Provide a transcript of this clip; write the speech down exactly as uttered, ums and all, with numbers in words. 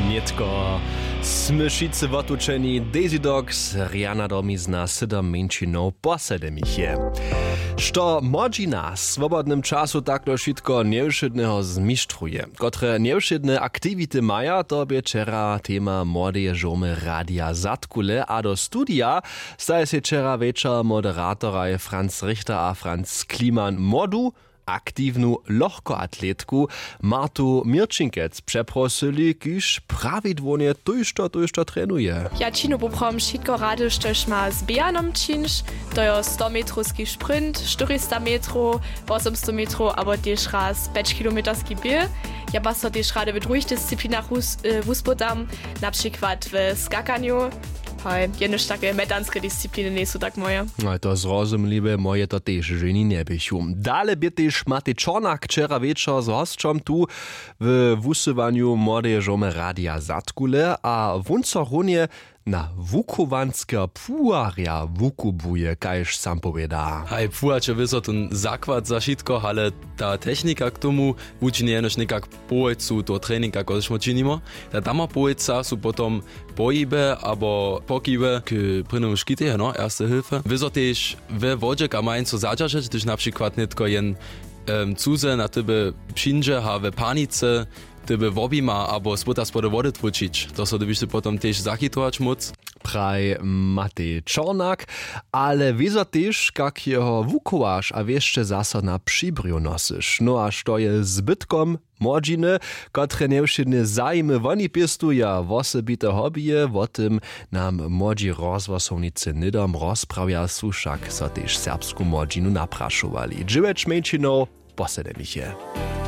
Nětko smy wšitcy wotučeni. Dejzidoks, rjana domizna, sydom mjeńšinow po sedemich je. Što młodźina w swobodnym času takle wšitko njewšědneho zmištruje, kotre njewšědne aktiwity maja, to bě wčera tema młodeje žurmy Radia Zadkule. A do studija staje sej wčera wječor moderatoraj Franz Richter a Franz Kliman młodu, aktiwnu lochkoatletku Martu Měrčinkec přeprosyli, kiž prawidłownje tójšto tójšto trenuje. Ja činu poprawom wšitko rady, štož ma z běhanom čińć. To jo stometrowski sprint, štyristametrow, wosomstometrow abo tež raz pjećkilometerski běh. Ja pak so tež rady w druhich disciplinach wus- e, wuspytam, na přikład w skakanju. Haj, jenož take metanske discipliny njejsu tak moje. No, to zrozumliwe, moje to tež ženi njeběchu. Dale bě tež Matej Čornak wčera wječor z hosćom tu w wusyłanju młodeje žurmy Radia Zadkule a wón so runje na wuchowanskeho płuharja wukubłuje, kaž sam powěda. Haj, płuhač je wězo tón zakład za wšitko, ale ta technika k tomu wučini jenož někak połojcu toho treninga, kotryž my činimy. Ta dama połojca su potom pohiby abo pokiwy k prěnemu škitej, no, erste hilfe. Wězo tež we wodźe, kam majenco zadźeržeć, hdyž na přikład nětko jen em, cuze na tebe přińdźe a we panicy tebe wobjima abo spyta spody wody twóčić. To so dybiš ty potom tež zachitować móc. Praj Matej Čornak, ale wězo tež, kak jeho wuchowaš a wěsće zaso na přibrju nosyš. No a što je zbytkom młodźiny, kotre njewšědne zajimy woni pěstuja, wosebite hobbyje, wo tym nam młodźi rozhłosownicy hnydom rozprawja, su wšak so tež serbsku młodźinu naprašowali. Dźewjeć mjeńšinow po sedemich je.